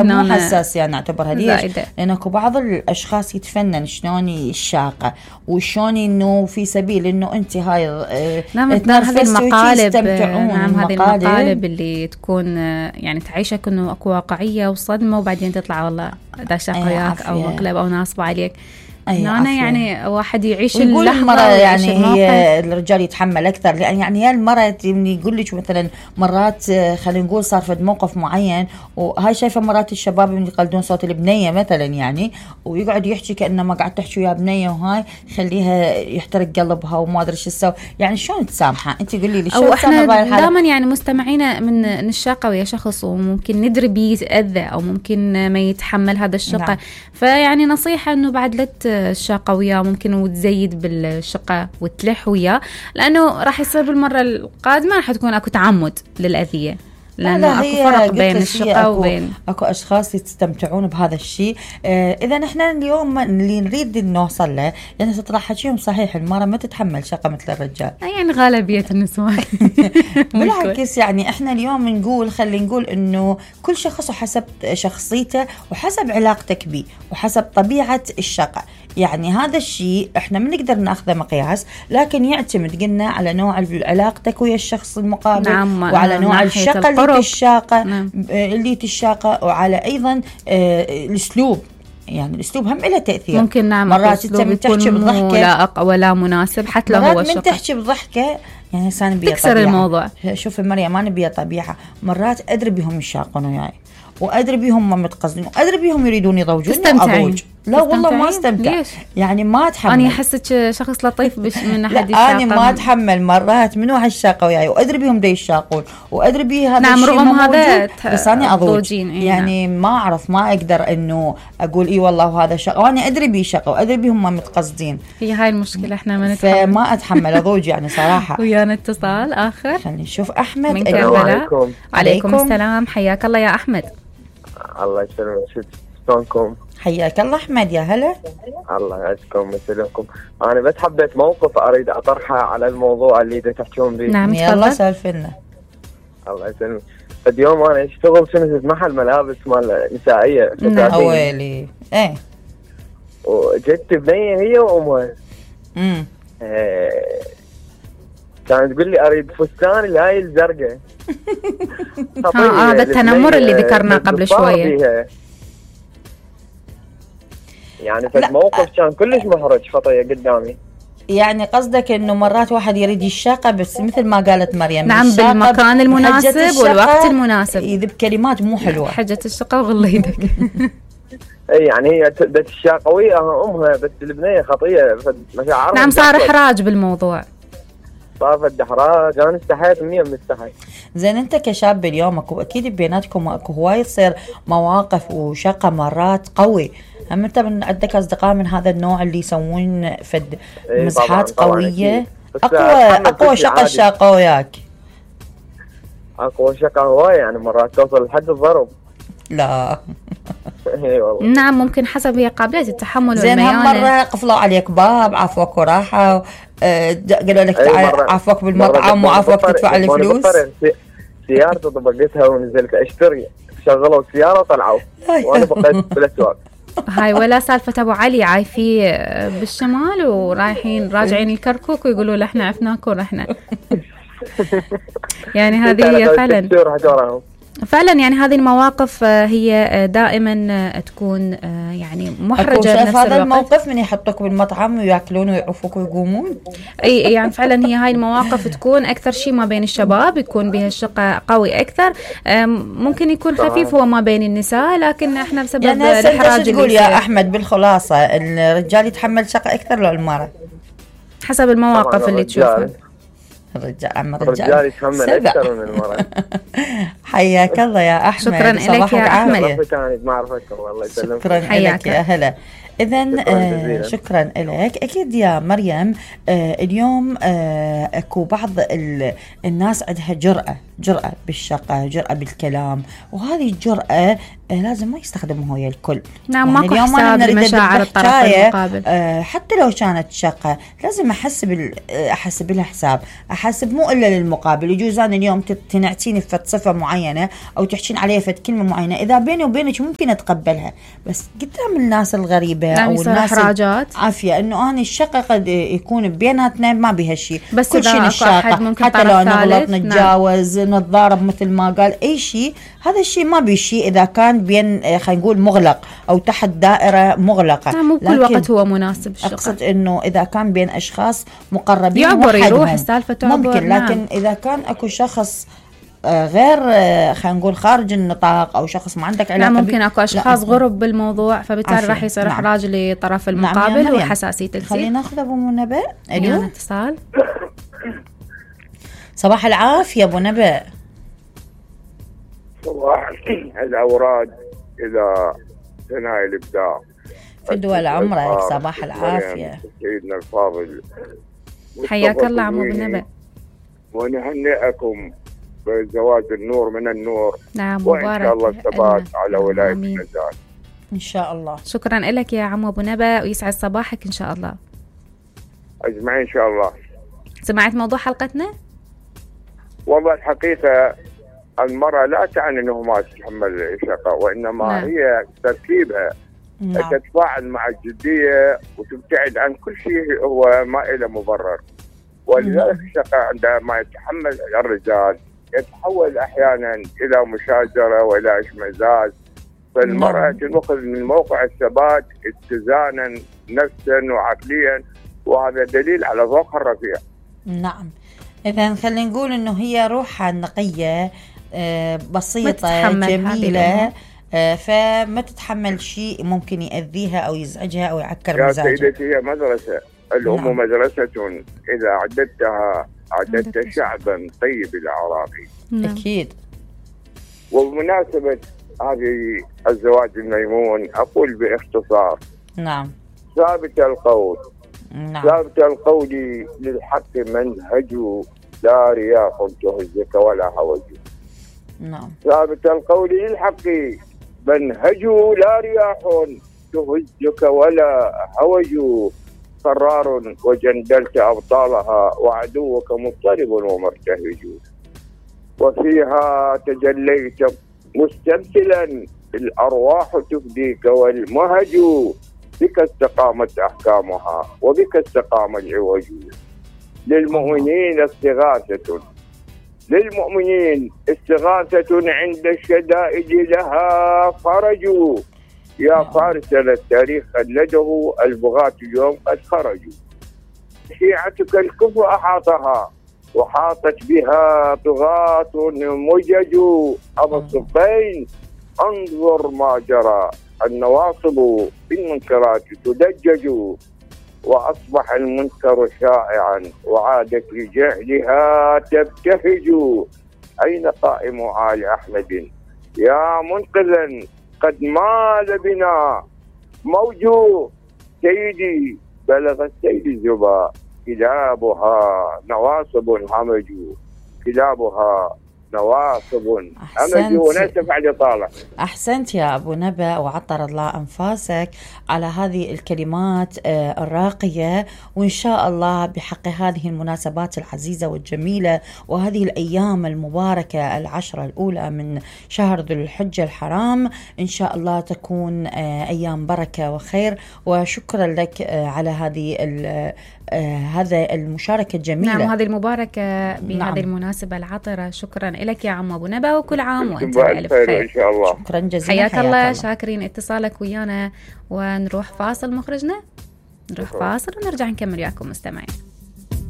مو حساسة يعني اعتبرها ليش؟ زائدة. لأن اكو بعض الأشخاص يتفنن شلون الشاقة وشلون إنه في سبيل إنه أنت هاي نعم هذه المقالب. نعم هذه المقالب اللي تكون يعني تعيشك إنه اكو واقعية وصدمة وبعدين تطلع والله دا شاق وياك أو مقلب أو ناصب عليك. أنا يعني واحد يعيش اللحظة المرة يعني هي الرجال يتحمل أكثر لأن يعني هي المرة يقول لك مثلا مرات خلينا نقول صار في موقف معين وهاي شايفة مرات الشباب اللي يقلدون صوت البنية مثلا يعني ويقعد يحكي كأنه ما قاعد تحكي ويا بنية وهاي خليها يحترق قلبها وما أدري شو تسوي يعني شلون تسامحها أنت قولي لي أو إحنا دائما يعني مستمعين من الشاقة ويا شخص وممكن ندري بيتأذى أو ممكن ما يتحمل هذا الشقة. نعم. فيعني نصيحة إنه بعد لا الشاقة وياه ممكن وتزيد بالشقة وتلح وياه لأنه راح يصير بالمرة القادمة راح تكون أكو تعمد للأذية لأنه أكو فرق بين الشقة وبين أكو أشخاص يستمتعون بهذا الشيء. إذا إحنا اليوم اللي نريد نوصل له يعني تطلع حكيهم صحيح المرأة ما تتحمل شقة مثل الرجال يعني غالبية النسوان بالعكس يعني إحنا اليوم نقول خلي نقول إنه كل شخص وحسب شخصيته وحسب علاقتك بيه وحسب طبيعة الشقة يعني هذا الشيء إحنا ما نقدر نأخذه مقياس لكن يعتمد قلنا على نوع علاقتك ويا الشخص المقابل. نعم. وعلى نوع الشقة اللي تشاقة. نعم. اللي تشاقة وعلى أيضا الأسلوب يعني الأسلوب هم له تأثير ممكن. نعم. مرات أنت من تحكي بضحكة لا ولا مناسب حتى لو هو الشقة مرات من تحكي بضحكة يعني إنسان بيه تكسر طبيعة. الموضوع. شوف مريم ما نبيه طبيعة مرات أدري بهم يشاقون وياي وأدري بهم ما متقصدين وأدري بهم يريدون يضوجون أضوج لا والله ما استمتع ليش؟ يعني ما أتحمل. أنا أحسك شخص لطيف من أحد الشاقة. أنا ما أتحمل مرات منو هالشاقة وياي وأدري بهم دا يشاقون وأدري بيه هذا نعم. الشيء رغم هذا بس أنا أضوج يعني ما أعرف ما أقدر إنه أقول إيه والله وهذا شاقة وأنا أدري بيه شاقة وأدري بهم ما متقصدين. هي هاي المشكلة إحنا ما نتحمل فما أتحمل أضوج يعني صراحة. ويانا اتصال آخر خلينا نشوف أحمد من كربلاء. عليكم السلام حياك الله يا أحمد. الله يسلمك شلونكم؟ حياك الله أحمد يا هلا. الله يعزكم ويسلمكم. أنا بس حبيت موقف أريد أطرحه على الموضوع اللي تحكون به. نعم يلا سولف لنا. الله يسلمك. اليوم أنا أشتغل في محل ملابس مال نسائية. نعم. أولي إيه. وجت بنية هي وأمها. كانت تقول لي أريد فستان الهاي الزرقاء. هذا التنمر اللي ذكرناه قبل شوية. يعني في الموقف كان كلش محرج خطية قدامي. يعني قصدك انه مرات واحد يريد الشاقة بس مثل ما قالت مريم نعم بالمكان المناسب والوقت المناسب يذب كلمات مو حلوة حجة الشقة وغلى يدك. اي يعني هي بدت الشاقة وياها امها بس البنية خطية مشاعرها. نعم صار احراج بالموضوع. صار في احراج انا استحيت مني مستحي. زين انت كشاب اليوم اكيد بيناتكم اكو هواي تصير مواقف وشقة مرات قوي هم انت من عندك اصدقاء من هذا النوع اللي يسوون فد مزحات قوية. اقوى شقة الشاقة وياك. اقوى شقة هواي يعني مرات توصل لحد الضرب. لا اي والله. نعم ممكن حسب هي قابلية التحمل زين والميانة. هم مرة قفلوا عليك باب عفوك وراحة قالوا لك تعال عفوك بالمطعم وعفوك تدفع الفلوس. سيارتي طبقتها ونزلت اشتري شغلوا السيارة وطلعوا وانا بقيت بالاسواق. هاي ولا سالفة أبو علي عايفي بالشمال ورايحين راجعين الكركوك ويقولوا له احنا عفناك ورحنا. يعني هذه هي فعلا يعني هذه المواقف هي دائما تكون يعني محرجة بنفس الوقت. هذا الموقف من يحطوك بالمطعم ويأكلون ويعرفوك ويقومون. اي يعني فعلا هي هاي المواقف تكون اكثر شيء ما بين الشباب يكون بها الشقة قوي اكثر. ممكن يكون خفيف هو ما بين النساء لكن احنا بسبب يعني الاحراج. تقول يا احمد بالخلاصة الرجال يتحمل شقة اكثر لو المرأة حسب المواقف اللي تشوفها. الرجال يتحمل أكثر من المرأة. حياك الله يا أحمد. شكرا لك يا أحمد. ما أعرفك والله يسلمك. شكرا لك يا هلا. إذن شكرا لك. أكيد يا مريم، اليوم أكو بعض الناس عندها جرأة بالشقة، جرأة بالكلام، وهذه الجرأة لازم ما يستخدمها ويا الكل. نعم، ماكو حساب لمشاعر الطرف المقابل. حتى لو كانت شقة لازم أحسب لها حساب، أحسب مو إلا للمقابل. يجوز أنا اليوم تنعتيني في صفة معينة أو تحكين عليها في كلمة معينة، إذا بيني وبينك ممكن أتقبلها، بس قدام الناس الغريبة أو الناس عافية إنه أنا الشقة قد يكون بيناتنا ما بها شيء، بس كل شيء الشقة، حتى لو نغلط نتجاوز نتضارب مثل ما قال أي شيء، هذا الشيء ما بشيء إذا كان بين خلينا نقول مغلق أو تحت دائرة مغلقة. مو كل وقت هو مناسب الشقة. أقصد إنه إذا كان بين أشخاص مقربين يعبر يروح السالفة تعبر ممكن، لكن إذا كان أكو شخص غير خلينا نقول خارج النطاق أو شخص ما عندك علاقة، ممكن أكو أشخاص غرب بالموضوع، فبالتالي راح يصير إحراج لطرف المقابل وحساسية الجنس. خلينا ناخذ أبو منبه. اليوم اتصال. صباح العافية أبو نبأ. صباح الأوراد إذا ثناء الإبداع في دول عمرك. صباح العافية سيدنا الفاضل، حياك الله عمو بنبأ، ونهنئكم بزواج النور من النور. نعم، مبارك، وإن شاء الله الثبات على ولاية النزال إن شاء الله. شكرا لك يا عمو أبو نبأ، ويسعد صباحك إن شاء الله. أجمعين إن شاء الله. سمعت موضوع حلقتنا؟ والله الحقيقة المرأة لا تعني أنه ما تتحمل الشقة، وإنما هي تركيبها تتفاعل مع الجدية وتبتعد عن كل شيء هو ما له مبرر. ولذلك الشقة عندما يتحمل الرجال يتحول أحيانا إلى مشاجرة وإلى اشمئزاز، فالمرأة تأخذ من موقع الثبات اتزانا نفسا وعقليا، وهذا دليل على ذوقها الرفيع. نعم، إذا خلينا نقول إنه هي روحها النقية بسيطة جميلة، فما تتحمل شيء ممكن يأذيها أو يزعجها أو يعكر مزاجها. يا سيدتي هي مدرسة، الأم مدرسة إذا عددت شعبا طيب الأعراقي. أكيد. وبمناسبة هذه الزواج الميمون أقول باختصار، نعم، ثابت القول، ثابت القول للحق منهج، لا رياح تهزك ولا هوج. نعم، ثابت القول للحق منهج، لا رياح تهزك ولا هوج. قرار وجندلت أبطالها، وعدوك مضطرب ومرتهج. وفيها تجليت مستمثلا، الأرواح تفديك والمهج. بك استقامت أحكامها وبك استقام العوج. للمؤمنين استغاثة، للمؤمنين استغاثة، عند الشدائد لها فرج. يا فارسا التاريخ خلده، البغاة اليوم قد خرجوا. شيعتك الكفر أحاطها، وحاطت بها طغاة مجج. أبا الصفين انظر ما جرى، النواصب بالمنكرات تدجج. وأصبح المنكر شائعا، وعادت لجهلها تبتهج. أين قائم آل أحمد يا منقذا، قد مال بنا موج. سيدي بلغ السيد الزبا، كلابها نواصب همج، كلابها نواصب همج. ونسف على طالع. أحسنت يا أبو نبأ، وعطر الله أنفاسك على هذه الكلمات الراقية، وإن شاء الله بحق هذه المناسبات العزيزة والجميلة وهذه الأيام المباركة العشرة الأولى من شهر ذو الحجة الحرام، إن شاء الله تكون أيام بركة وخير. وشكرا لك على هذا المشاركة الجميلة. نعم، هذه المباركة بهذه المناسبة العطرة. شكرا لك يا عم أبو نبأ، وكل عام وأنت بألف خير إن شاء الله. شكرا جزيلا، حياك الله. شاكرين اتصالك ويانا، ونروح فاصل. مخرجنا نروح فاصل ونرجع نكمل وياكم مستمعين.